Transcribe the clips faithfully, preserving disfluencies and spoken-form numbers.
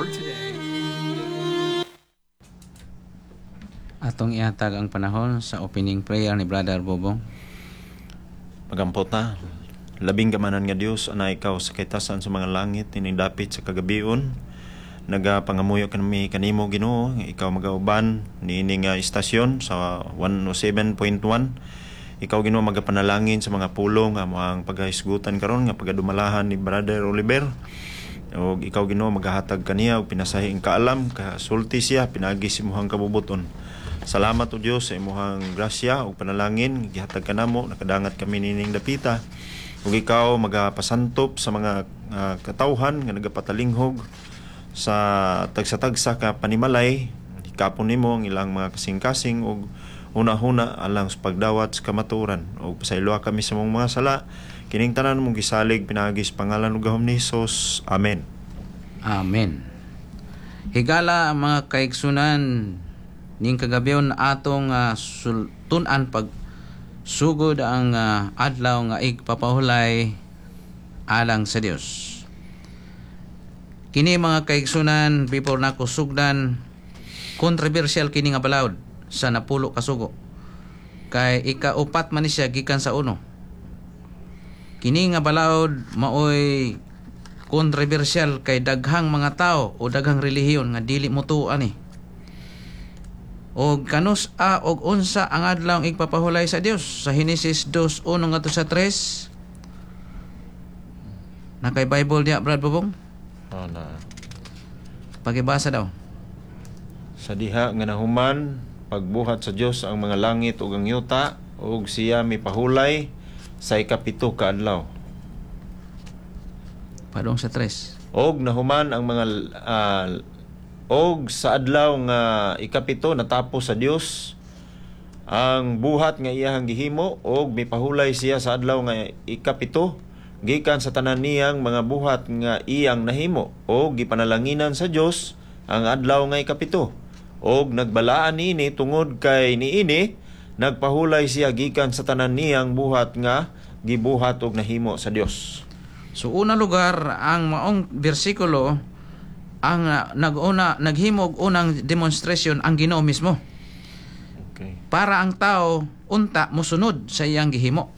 org today. Atong ihatag ang panahon sa opening prayer ni Brother Bobong. Magampot na. Labing gamanan nga Dios, ana ikaw sa kaytasan sa mga langit, tinindapit sa kagabion. Nagapangamuyo kami kanimo Ginoo, nga ikaw magauban niini nga istasyon sa one oh seven point one. Ikaw, Ginoo, magapanalangin sa mga pulong nga among pagahisgutan karon nga pagadumalahan ni Brother Oliver. Og ikaw, Ginoo, magahatag kaniya og pinasahing kaalam, kasulti siya pinaagi sa imong kabubuton. Salamat, o Dios, sa imong grasya ug panalangin gihatag kanamo, nakadangat kami nining dapita. Ug ikaw magapasantop sa mga uh, katawhan nga nagapatalinghog sa tagsa-tagsa ka panimalay. Hikapon nimo ang ilang mga kasing-kasing ug una-huna alang sa pagdawat sa kamatuoran, ug pasayloa kami sa among mga sala. Kining tanan among gisalig pinaagi sa pangalan ug gahom ni Hesus. Amen. Amen. Higala, mga kaigsunan, ning kagabion atong uh, sultunan pag sugod ang uh, adlaw nga igpapahulay alang sa Dios. Kini, mga kaigsunan, before nako sugdan, controversial kini nga balaod sa napulo ka sugo. Kay ikaupat man ni siya gikan sa uno. Kini nga balaod maoy controversial kay daghang mga tao o daghang relihiyon nga dili motuo ani. Og kanus a og unsa ang adlaw igpapahulay sa Dios sa Henesis two uno ngadto sa tres. Nakay Bible diya, Brad Bobong? Oh, na. Pagibasa daw. Sa diha nga nahuman pagbuhat sa Dios ang mga langit ug ang yuta, ug siya mipahulay sa ikapito ka adlaw. Padong sa tres. Og nahuman ang mga ah, og sa adlaw nga ikapito natapos sa Dios ang buhat nga iyahang gihimo, og mipahulay siya sa adlaw nga ikapito gikan sa tanan niyang mga buhat nga iyang nahimo, og gipanalanginan sa Dios ang adlaw nga ikapito og nagbalaan niini tungod kay niini nagpahulay siya gikan sa tanan niyang buhat nga gibuhat og nahimo sa Dios. So una lugar, ang maong bersikulo ang uh, naguna naghimo og unang demonstration ang Ginoo mismo Okay. para ang tao unta mosunod sa iyang gihimo.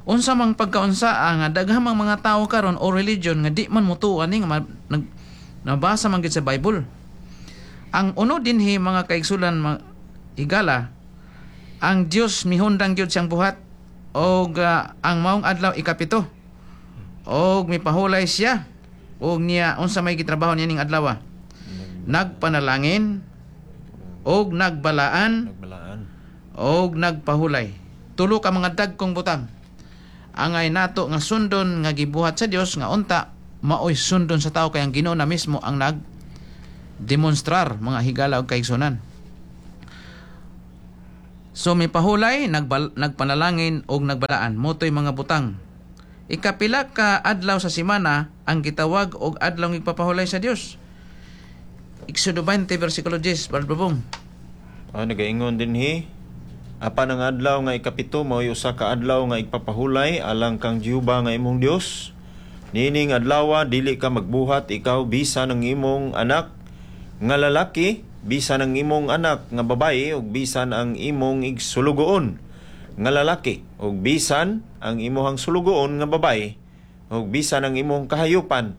Unsa mang pagkaunsa nga daghang mang mga tao karon o religion nga di man motuo ani nga ma- nag, nabasa man gid sa Bible. Ang uno dinhi, mga kaigsulan, mga higala, ang Dios mihundang gyud siyang buhat og ah, ang maong adlaw ikapito og mipahulay siya og niya. Unsa may gitrabaho niya ning adlaw? Nagpanalangin og nagbalaan Nagbalaan. Og nagpahulay. Tulo ka mga dagkong butang angay nato nga sundon nga gibuhat sa Dios nga unta maoy sundon sa tao, kay ang Ginoo na mismo ang nag demonstrar, mga higala og kaigsunan. So mipahulay, nagbal, nagpanalangin og nagbalaan, motoy mga butang. Ikapila ka adlaw sa semana ang gitawag og adlaw igpapahulay sa Dios? Exodo twenty versikulo ten, Brad Bobong. Ah, nagaingon dinhi: Apan ang adlaw nga ikapito mao'y usa ka adlaw nga igpapahulay alang kang Jehova nga imong Dios. Niining adlaw dili ka magbuhat, ikaw bisan ang imong anak nga lalaki, bisan ang imong anak nga babaye, ug bisan ang imong igsulugoon nga lalaki, ug bisan ang imong sulugoon nga babaye, ug bisan ang imong kahayupan,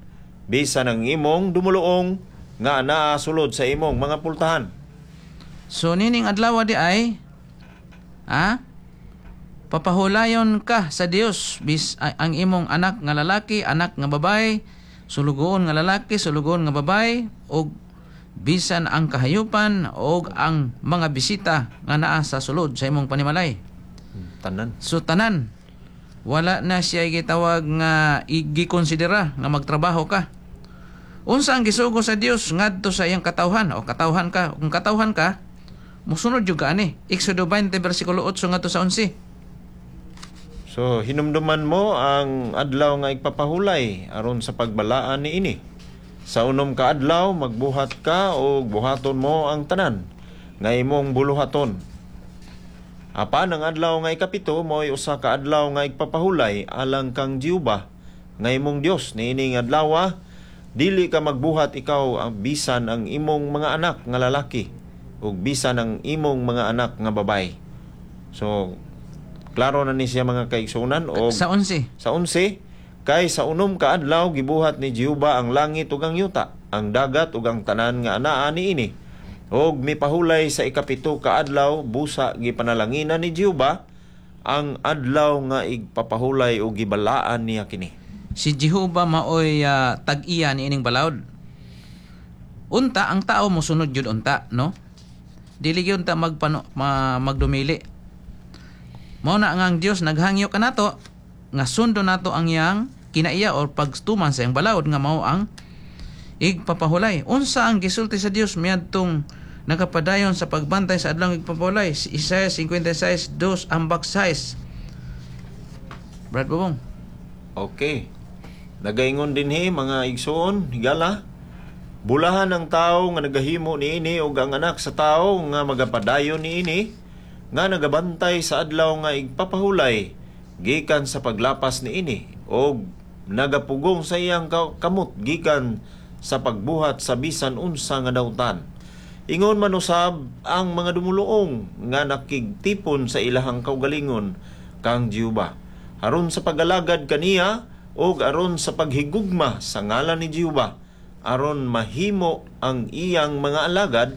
bisan ang imong dumuluong nga naa sulod sa imong mga pultahan. So nining adlaw di ay ha papahulayon ka sa Dios, bis ay- ang imong anak nga lalaki, anak nga babae, sulugoon nga lalaki, sulugoon nga babae, ug bisan ang kahayupan og ang mga bisita nga naa sa sulod sa imong panimalay. Tanan. So tanan, wala na siya gitawag nga gikonsidera nga magtrabaho ka. Unsa ang gisugo sa Dios ngadto sa iyang katawhan o katawhan ka? Kung katawhan ka, musunod jud ka ani. Exodo twenty versikulo eight ngadto sa eleven. So hinumduman mo ang adlaw nga igpapahulay aron sa pagbalaan niini. Sa unom ka adlaw magbuhat ka og buhaton mo ang tanan nga imong buluhaton. Apan ang adlaw nga ikapito mo'y usa ka adlaw nga igpapahulay alang kang Jehova nga imong Dios. Niining adlaw Dili ka magbuhat ikaw ang bisan ang imong mga anak nga lalaki ug bisan ang imong mga anak nga babae. So klaro na ni siya, mga kaigsuonan, og Sa onse. Sa onse, kay sa unom ka adlaw gibuhat ni Jehova ang langit ug ang yuta, ang dagat ug ang tanan nga anaa niini. Og mipahulay sa ikapito ka adlaw, busa gipanalanginan ni Jehova ang adlaw nga igpapahulay ug gibalaan niya kini. Si Jehova maoy ah, tag-iya ni ining balaod. Unta ang tao mosunod jud unta, no? Dili gyud ta magpano ma, magdumili. Mao na nga ang Dios naghangyo kanato nga sundo nato ang iyang kinaiya or pagtuman sa iyang balaod nga mao ang igpapahulay. Unsa ang gisulti sa Dios miadtong nakapadayon sa pagbantay sa adlaw igpapahulay? Isaiah fifty-six two ambak six. Brad Bobong. Okay. Nagaingon dinhi, mga igsoon, higala. Bulahan ang tao nga nagahimo niini ug ang anak sa tao nga magapadayon niini, nga nagabantay sa adlaw nga igpapahulay gikan sa paglapas niini og nagapugong sa iyang ka- kamot gikan sa pagbuhat sa bisan unsa nga dautan. Ingon man usab ang mga dumuluong nga nakigtipon sa ilahang kaugalingon kang Jehova aron sa pag-alagad kaniya ug aron sa paghigugma sa ngalan ni Jehova, aron mahimo ang iyang mga alagad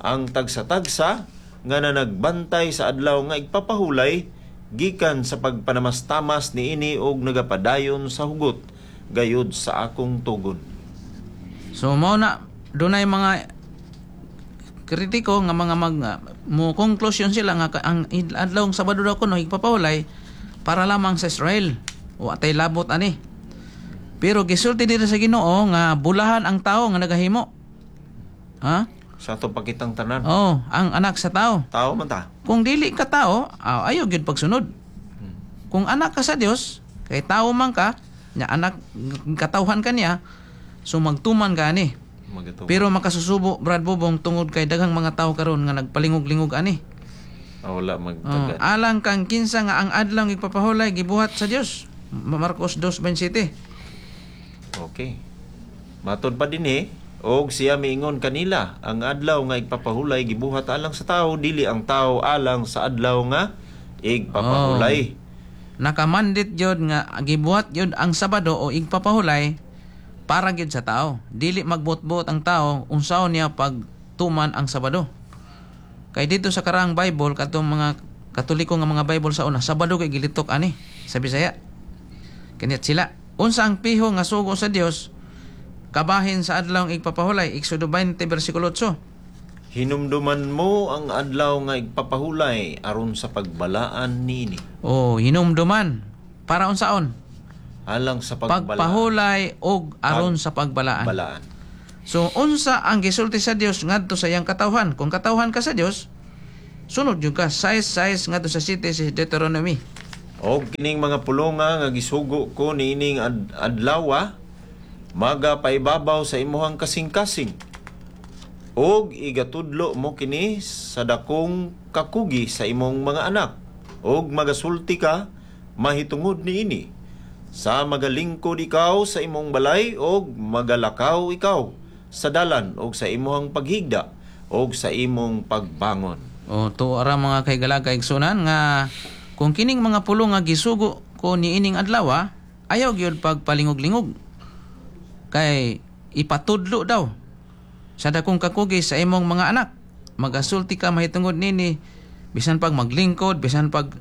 ang tagsa-tagsa nga nanagbantay sa adlaw nga igpapahulay gikan sa pagpanamastamas niini og nagapadayon sa hugot gayud sa akong tugon. So mao na dunay mga kritiko nga mga mag mo conclusion sila nga ka- ang adlaw Sabado daw kuno igpapahulay para lamang sa Israel. Wa tay labot ani. Pero gisulti diri sa Ginoo nga bulahan ang tao nga nagahimo. Ha? Sa ato pakitang tanan. Oh, ang anak sa tao. Tao man ta. Kung dili ka tao, ah, ayaw gyud pagsunod. Kung anak ka sa Dios, kay tao man ka, nya anak katawhan ka niya, so magtuman ka ani. Magatuman. Pero makasusubo, Brad Bobong, tungod kay daghang mga tao karon nga nagpalingog-lingog ani. Ah, wala Oh, magtagad. Alang kang kinsa nga ang adlaw igpapahulay gibuhat sa Dios. Marcos two twenty-seven. Okay. Matod pa dinhi, og siya miingon kanila, ang adlaw nga igpapahulay gibuhat alang sa tao, dili ang tao alang sa adlaw nga igpapahulay. Nakamandit gyud nga gibuhat gyud ang Sabado o igpapahulay para gyud sa tao. Dili magbot-bot ang tao unsaon niya pagtuman ang Sabado. Kay dito sa karaang Bible, katong mga Katoliko nga mga Bible sa una, Sabado kay gilitok ani sa Bisaya. Kaniyat sila. Unsa ang piho nga sugo sa Dios kabahin sa adlaw igpapahulay? Exodo twenty versikulo eight. Hinumduman mo ang adlaw nga igpapahulay aron sa pagbalaan niini. O hinumduman para unsaon? Alang sa pagbalaan. Pagpahulay og aron sa pagbalaan. Balaan. So unsa ang gisulti sa Dios ngadto sa iyang katawhan? Kung katawhan ka sa Dios, sunod jud ka. Sais sais ngadto sa siyete si Deuteronomy. Og kining mga pulonga nga gisugo ko niining ad- adlawa magapaibabaw sa imuhang kasing-kasing. Og igatudlo mo kini sa dakong kakugi sa imong mga anak. Og magasulti ka mahitungod niini sa magalingkod ikaw sa imong balay og magalakaw ikaw sa dalan og sa imong paghigda og sa imong pagbangon. O to ara, mga kahigala kaigsunan, nga kung kining mga pulong nga gisugo ko niining adlaw, ayaw gyud pagpalingog-lingog. Kay ipatudlo daw sa dakong kakugi sa imong mga anak. Magasulti ka mahitungod nini bisan pag maglingkod, bisan pag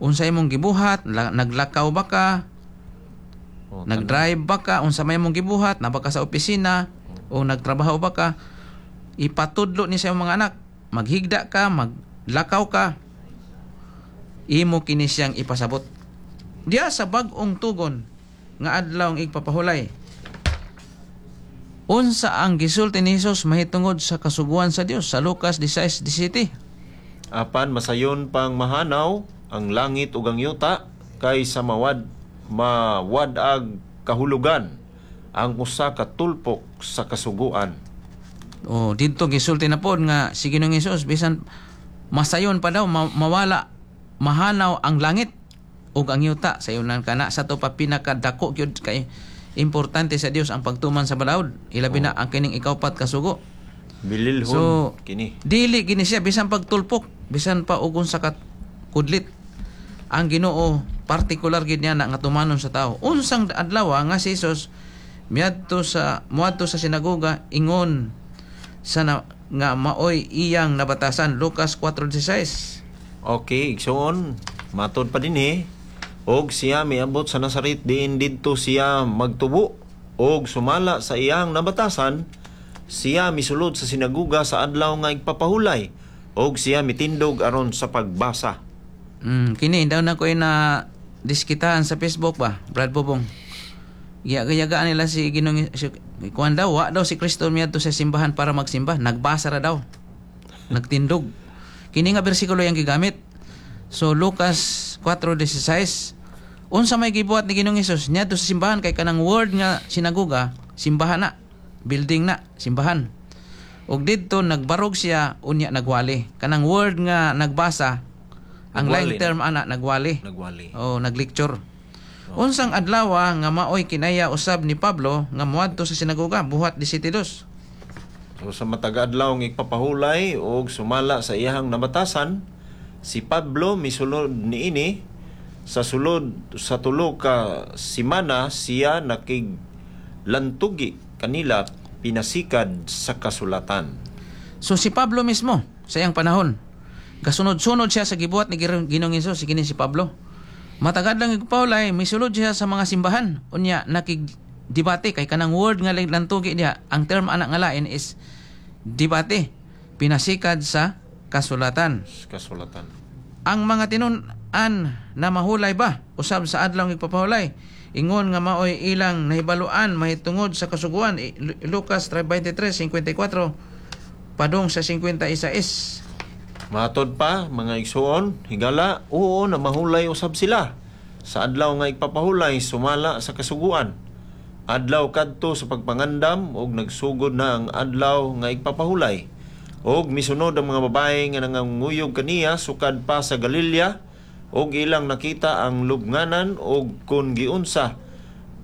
unsa imong gibuhat, la- naglakaw ba ka, O, nagdrive ba ka, unsa may imong gibuhat, naa ba ka sa opisina o nagtrabaho ba ka, ipatudlo ni sa imong mga anak. Maghigda ka, maglakaw ka, imo kini siyang ipasabot. Diya sa bag-ong tugon nga adlaw ang igpapahulay. Unsa ang gisulti ni Hesus mahitungod sa kasuguan sa Dios sa Lucas sixteen seventeen? Apan masayon pang mahanaw ang langit ug ang yuta kaysa mawad mawad-ag kahulugan ang usa ka tulpok sa kasuguan. O didto gisulti na pod nga si Ginoong Hesus bisan masayon pa daw ma- mawala mahanaw ang langit ug ang yuta, sayunan kana sa to pa pinakadako gyud kay Importante sa Dios ang pagtuman sa balaod. Ilabi na ang kining ikaupat ka sugo. Bililhon So, kini. Dili gini siya bisan pagtulpok, bisan pa og unsa ka kudlit. Ang Ginoo partikular gid niya na nga tumanon sa tao. Unsang adlaw nga si Jesus miadto sa muadto sa sinagoga ingon sa na, nga maoy iyang nabatasan, Lucas four sixteen. Okay, igsoon, matod pa dinhi, og siya miabot sa Nazaret diin didto siya magtubo, og sumala sa iyang nabatasan, siya misulod sa sinaguga sa adlaw nga igpapahulay, og siya mitindog aron sa pagbasa. Mm, kini daw na ko na diskitahan sa Facebook ba, Brad Bobong. Giyaga-yagaan nila si Ginoong si, kuan daw, wa daw si Kristo miadto sa simbahan para magsimba, nagbasa ra daw. Nagtindog. Kini nga bersikulo yang gigamit. So Lucas four sixteen, unsa may gibuhat ni Ginoong Hesus niadto sa simbahan? Kay kanang word nga sinagoga, simbahan na, building na, simbahan. Ug didto nagbarog siya, unya nagwali. Kanang word nga nagbasa, ang Nagwali line na. Term ana nagwali. Nagwali. Oh, naglecture. Unsang adlaw nga maoy kinaya usab ni Pablo nga moadto sa sinagoga, Buhat labing dos. So sa matag adlaw nga igpapahulay og sumala sa iyahang nabatasan, si Pablo misulod niini. Sa sulod sa tulo ka simana siya nakig lantugi kanila pinasikad sa kasulatan. So si Pablo mismo sa iyang panahon, gasunod-sunod siya sa gibuhat ni Ginoong Ginoong Hesus, si kini si Pablo. Matagad lang igpahulay, misulod siya sa mga simbahan. Unya nakig debate kay kanang word nga lantugi niya, ang term ana nga lain is debate. Pinasikad sa kasulatan. Kasulatan. Ang mga tinun-an na mahulay ba usab sa adlaw ng igpapahulay ingon nga maoy ilang nahibaluan mahitungod sa kasuguan, I- Lu- Lucas twenty-three fifty-four padung sa fifty-six. Matod pa, mga igsuon, higala, oo na mahulay usab sila sa adlaw nga igpapahulay sumala sa kasuguan. Adlaw kadto sa pagpangandam og nagsugod na ang adlaw nga igpapahulay. Og misunod ang mga babae nga nanganguyog kaniya sukad pa sa Galilea og ilang nakita ang lubnganan og kun giunsa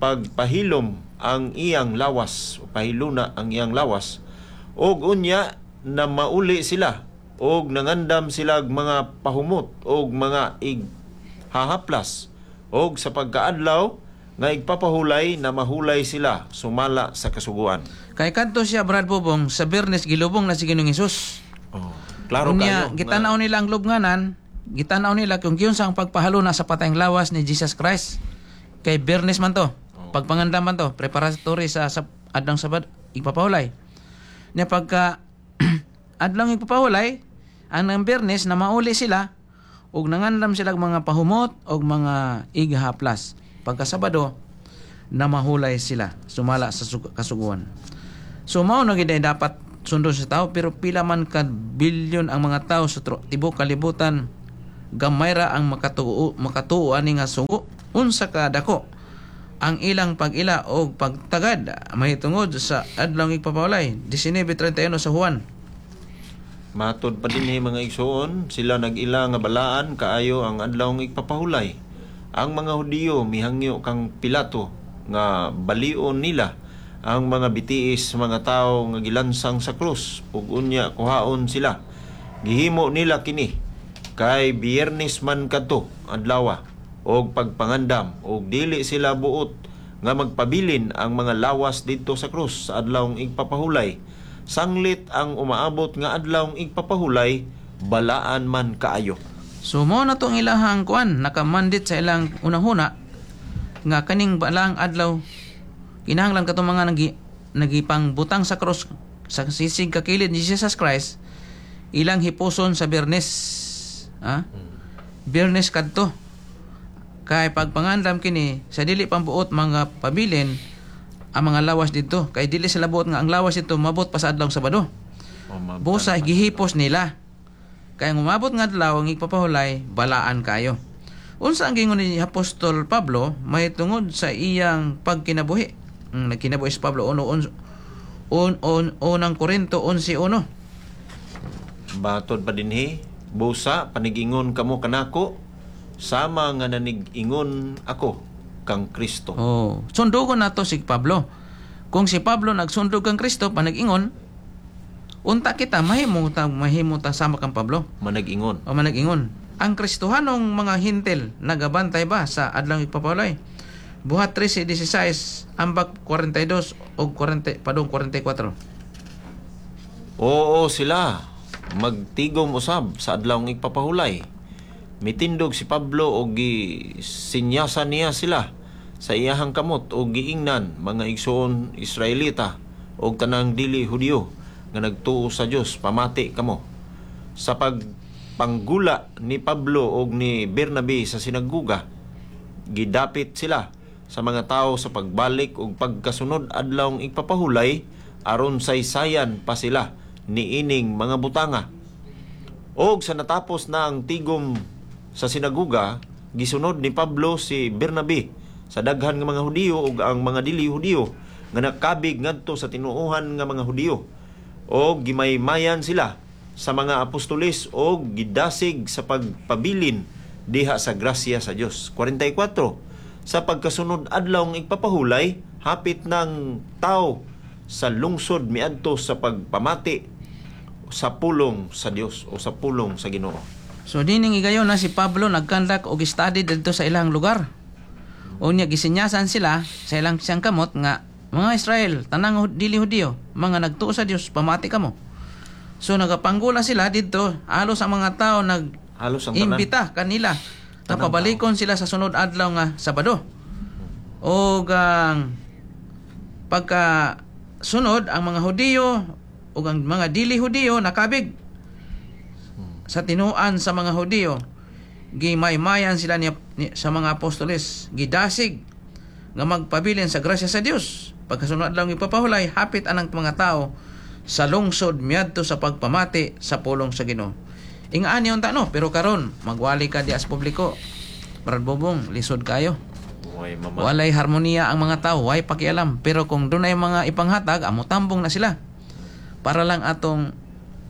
pagpahilom ang iyang lawas, o pahiluna ang iyang lawas. Og unya na mauli sila og nangandam sila og mga pahumot og mga ighahaplas, og sa pagkaadlaw nga igpapahulay na mahulay sila sumala sa kasuguan. Kay kadto siya, Brad Bobong, sa Biyernes gilubong na si Ginoong Hesus. Oh, klaro Unya, kayo. Gitanaw nila ang lubnganan, gitanaw nila kung giunsa ang pagpahaluna sa patayng lawas ni Jesus Christ. Kay Biyernes man to. Oh. Pagpangandam man to, preparatory sa, sa adlaw Sabado, igpapahulay. Nya pagka adlaw igpapahulay, ang ng Biyernes na mauli sila ug nangandam sila og mga pahumot og mga ighaplas. Pagka Sabado na mahulay sila sumala sa sug- kasuguan. So mao na gid ay dapat sundon sa tao, pero pila man ka bilyon ang mga tao sa tro- tibuok kalibutan, gamay ra ang makatuo makatuo ani nga sugo. Unsa ka dako ang ilang pag-ila og pagtagad mahitungod sa adlaw igpapahulay, nineteen thirty-one sa Juan. Matod pa dinhi, mga igsuon, sila nag-ila nga balaan kaayo ang adlaw nga igpapahulay. Ang mga Hudiyo mihangyo kang Pilato nga balion nila ang mga bitiis mga tawo nga gilansang sa krus ug unya kuhaon sila. Gihimo nila kini kay Biyernes man kadto adlaw og pagpangandam ug dili sila buot nga magpabilin ang mga lawas didto sa krus sa adlawng igpapahulay. Sanglit ang umaabot nga adlawng igpapahulay balaan man kaayo. So mo na to ang ilahang kuan, nakamandit sa ilang unahuna nga kaning balaang adlaw kinahanglan katong mga nagi nagipangbutang sa cross sa sisig kakilid ni Jesus Christ ilang hipuson sa Biyernes. Ha? Biyernes kadto. Kay pagpangandam kini sa dili pambuot mga pabilin ang mga lawas didto kay dili sila buot nga ang lawas didto mabot pa sa adlaw Sabado. Busa gihipos nila. Kaya ang umabot nga adlaw ang igpapahulay, balaan kayo. Unsa ang gingon ni Apostol Pablo mahitungod sa iyang pagkinabuhi? Mm, nagkinabuhi si Pablo uno un, un, un, unang Korinto eleven one. Batod pa dinhi, busa panigingon kamo kanako sama nga nanig-ingon ako kang Kristo. Oh, sundugon nato si Pablo. Kung si Pablo nagsundog kang Kristo panag-ingon, unta kita mahimo ta mahimo ta sama kang Pablo. Manag-ingon. O manag-ingon. Ang Kristohanong mga Hentil nagabantay ba sa adlaw igpapahulay? Buhat trese sisay, ambak kwarenta y dos og kwarenta padung kwarenta y kuwatro. Oo sila, magtigom usab sa adlaw igpapahulay. Mitindog si Pablo og gisinyasan niya sila sa iyahang kamot og giingnan, "Mga igsoon Israelita og tanang dili Hudiyo nga nagtuo sa Dios, pamati kamo." Sa pagpanggula ni Pablo og ni Bernabe sa sinaguga, gidapit sila sa mga tao sa pagbalik og pagkasunod adlawng igpapahulay aron saysayan pa sila niining mga butanga. Og sa natapos na ang tigom sa sinaguga, gisunod ni Pablo si Bernabe sa daghan nga mga Hudiyo ug ang mga dili Hudiyo nga nakabig ngadto sa tinuohan nga mga Hudiyo. Og gimaymayan sila sa mga apostoles og gidasig sa pagpabilin diha sa grasya sa Dios. kwarenta y kuwatro. Sa pagkasunod adlaw igpapahulay, hapit ng tao sa lungsod miadto sa pagpamati sa pulong sa Dios o sa pulong sa Ginoo. So dining higayon na si Pablo nag-conduct og study didto sa ilang lugar. Unya gisinyasan sila sa ilang siyang kamot nga, "Mga Israel, tanang dili Hudiyo, mga nagtuo sa Dios, pamati kamo." So nagapanggula sila didto, halos ang mga tao nag Halos ang tanan. imbita kanila nga pabalikon sila sa sunod adlaw nga Sabado. O ang pagka sunod, ang mga Hudiyo ug ang mga dili Hudiyo nakabig sa tinuan sa mga Hudiyo, gimaymayan sila ni, ni, sa mga apostoles, gidasig nga magpabilin sa grasya sa Dios. Pagkasunod adlaw ipapahulay, hapit anang mga tao sa lungsod miadto sa pagpamati sa pulong sa Ginoo. Ingaan niyon ta, no? Pero karon magwali ka di as publiko, Brad Bobong, lisod kayo. Way mama. Walay harmoniya ang mga tao, way pakialam. Pero kung dunay mga ipanghatag, amo tambong na sila. Para lang atong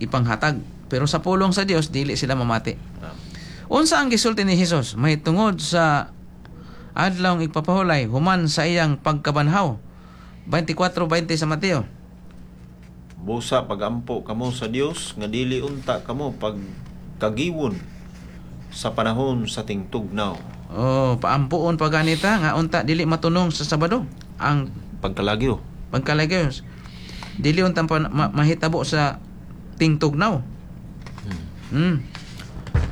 ipanghatag. Pero sa pulong sa Dios, dili sila mamati. Ah. Unsa ang gisulti ni Hesus may tungod sa adlaw igpapahulay human sa iyang pagkabanhaw? twenty-four twenty sa Mateo. Busa pagampo kamo sa Dios nga dili unta kamo pagkagiwon sa panahon sa tingtugnaw. Oh, paampuon pa ganita nga unta dili matunong sa Sabado ang pagkalagyo. Pagkalagyo. Dili unta pa ma- mahitabo sa tingtugnaw. Hmm.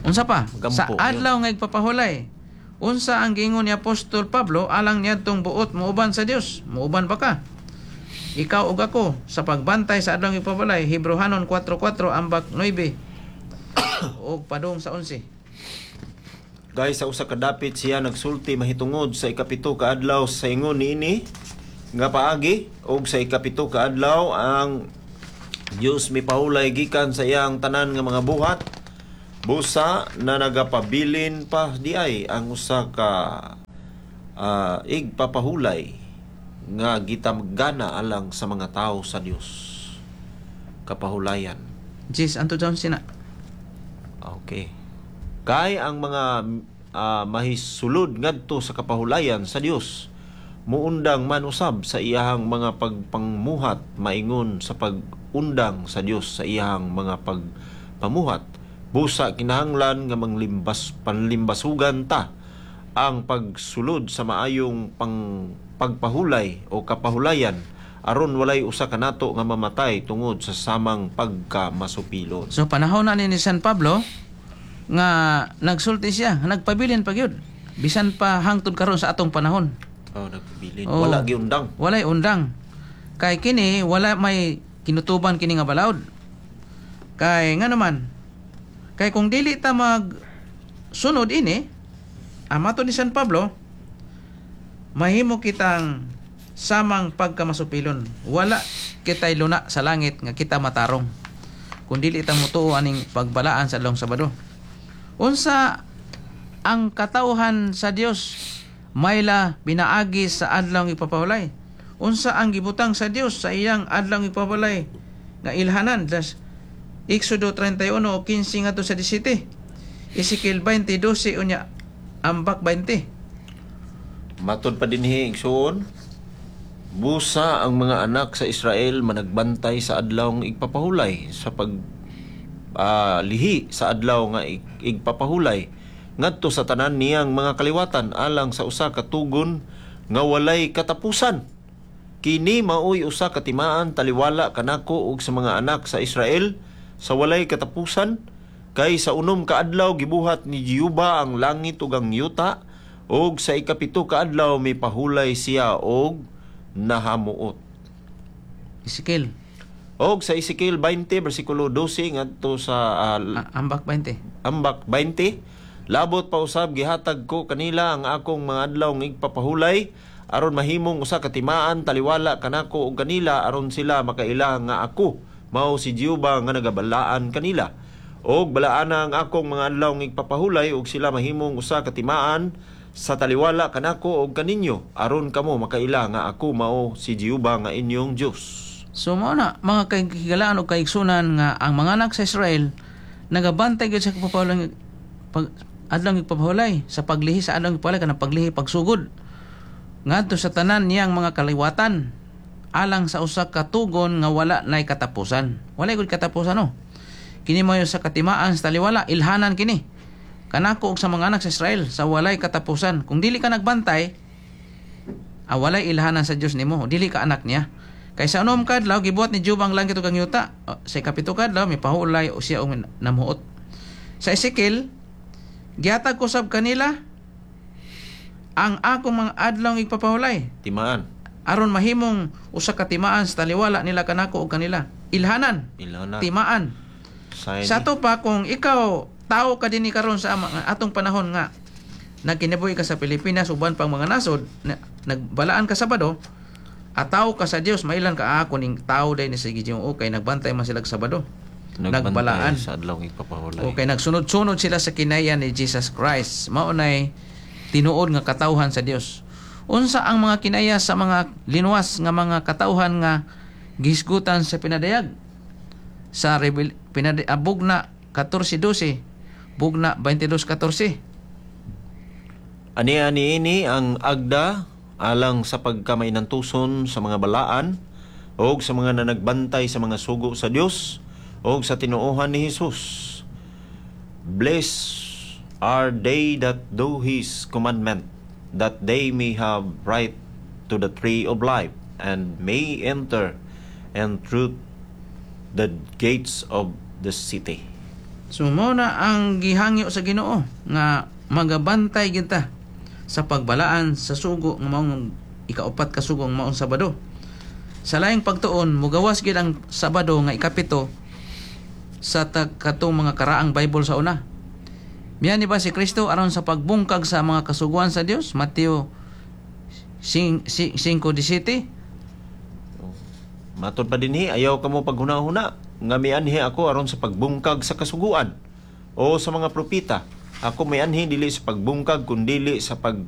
Unsa pa? Magampo, Sa adlaw nga igpapahulay. Unsa ang giingon ni Apostol Pablo alang niadtong buot muuban sa Dios? Muuban ba ka? Ikaw ug ako sa pagbantay sa adlaw igpapahulay? Hebreohanon four four ambak nine ug padung sa eleven. Guys, sa usa ka dapit siya nagsulti mahitungod sa ikapito ka adlaw sa ingon niini nga paagi, og sa ikapito ka adlaw ang Dios mipahulay gikan sa iyang tanan nga mga buhat. Busa na nagapabilin pa diay ang usa ka uh, igpapahulay nga gitamgana alang sa mga tao sa Dios. Kapahulayan. Jis, anto down sina. Okay. Kay ang mga ah, mahisulod ngadto sa kapahulayan sa Dios muundang man usab sa iyahang mga pagpangmuhat maingon sa pag-undang sa Dios sa iyahang mga pagpamuhat. Busa kinahanglan nga manglimbas panlimbasugan ta ang pagsulod sa maayong pang pagpahulay o kapahulayan aron walay usa kanato nga mamatay tungod sa samang pagkamasupilon. So panahon na ni ni San Pablo nga nagsulti siya, nagpabilin pa gyud. Bisan pa hangtod karon sa atong panahon. Oh, nagpabilin. Oo. Wala giundang. Walay undang. Kay kini wala may kinutuban kini nga balaod. Kay nga naman, kay kung dili ta mag sunod ini, amato ni San Pablo, mahimo kitang samang pagkamasupilon. Wala kita'y luna sa langit nga kita matarong kung dili ta motuo aning pagbalaan sa adlawng Sabado. Unsa ang katawhan sa Dios mayla pinaagi sa adlaw ipapahulay? Unsa ang gibutang sa Dios sa iyang adlaw ipapahulay nga ilhanan? Das Exodo trenta y uno kinse ngadto sa disasayte. Ezekiel twenty dose unya ambak bente. Matod pa dinhi, igsuon, busa ang mga anak sa Israel managbantay sa adlaw nga igpapahulay sa pag ah, lihi sa adlaw nga ig- igpapahulay ngadto sa tanan niyang mga kaliwatan alang sa usa ka tugon nga walay katapusan. Kini maoy usa ka timaan taliwala kanako ug sa mga anak sa Israel sa walay katapusan, kay sa unom ka adlaw gibuhat ni Jehova ang langit ug ang yuta, ug sa ikapito ka adlaw mipahulay siya og nahamuot. Ezekiel. Og sa Ezekiel twenty bersikulo dose ngadto sa ah, Ah, Ambak twenty. Ambak twenty, labot pa usab gihatag ko kanila ang akong mga adlaw nga igpapahulay aron mahimong usa ka timaan taliwala kanako ug kanila, aron sila makaila nga ako mao si Jehova nga nagabalaan kanila. Og balaana ang akong mga adlaw nga igpapahulay ug sila mahimong usa ka timaan sa taliwala kanako ug kaninyo, aron kamo makaila nga ako mao si Jehova nga inyong Dios. So mao na, mga kahigalaan o kaigsunan, nga ang mga anak sa Israel nagabantay gyud sa pagpapahulay, pag adlaw igpapahulay, sa paglihi sa adlaw igpapahulay, kanang paglihi, pagsugod, ngadto sa tanan niyang mga kaliwatan alang sa usa ka tugon nga wala nay katapusan. Wala gud katapusan, no. Kini mo sa katimaan sa taliwala, ilhanan kini kanako ug sa mga anak sa Israel sa walay katapusan. Kung dili ka nagbantay, ah, walay ilhanan sa Dios nimo, dili ka anak niya. Kay sa unom ka adlaw gibuhat ni Jehova ang langit ug ang yuta. O, sa ikapito ka adlaw mipahulay o siya og namuot. Sa Ezekiel, gihatag ko sab kanila ang akong mga adlaw nga igpapahulay Timaan. Aron mahimong usa ka timaan sa taliwala nila kanako ug kanila. Ilhanan, Ilhanan. Timaan. Sign. Sa ato pa, kung ikaw tao ka dinhi karon sa ama- atong panahon nga nagkinabuhi ka sa Pilipinas, uban pang mga nasod na, nagbalaan ka Sabado, ataw ka sa Dios, mailan ka, "Ah, ako ning tao day ni sa Ginoo kay nagbantay man sila sa Sabado." Nagbantay Nagbalaan. sa adlaw igpapahulay. Okay, nagsunod-sunod sila sa kinaya ni Jesus Christ. Mao nay tinuod nga katawhan sa Dios. Unsa ang mga kinaya sa mga linuwas nga mga katawhan nga gihisgutan sa pinadayag? Sa Revel pinad ah, Bugna fourteen twelve, Bugna twenty-two fourteen. Ani-ani ini ang agda alang sa pagkamainantuson sa mga balaan o sa mga nanagbantay sa mga sugo sa Dios o sa tinuohan ni Jesus. Blessed are they that do His commandment, that they may have right to the tree of life and may enter and through the gates of the city. So mao na ang gihangyo sa Ginoo nga magabantay kita sa pagbalaan sa sugo nga maong ikaupat ka sugo nga maong Sabado. Sa laing pagtuon, mugawas gid ang Sabado nga ikapito sa ta- katong mga karaang Bible sa una. Mianhi ba si Kristo aron sa pagbungkag sa mga kasuguan sa Dios? Mateo five seventeen. Matod pa dinhi, ayaw kamo paghuna-huna nga mianhi ako aron sa pagbungkag sa kasuguan o sa mga propeta. Ako mianhi dili sa pagbungkag kundili sa pagtuman.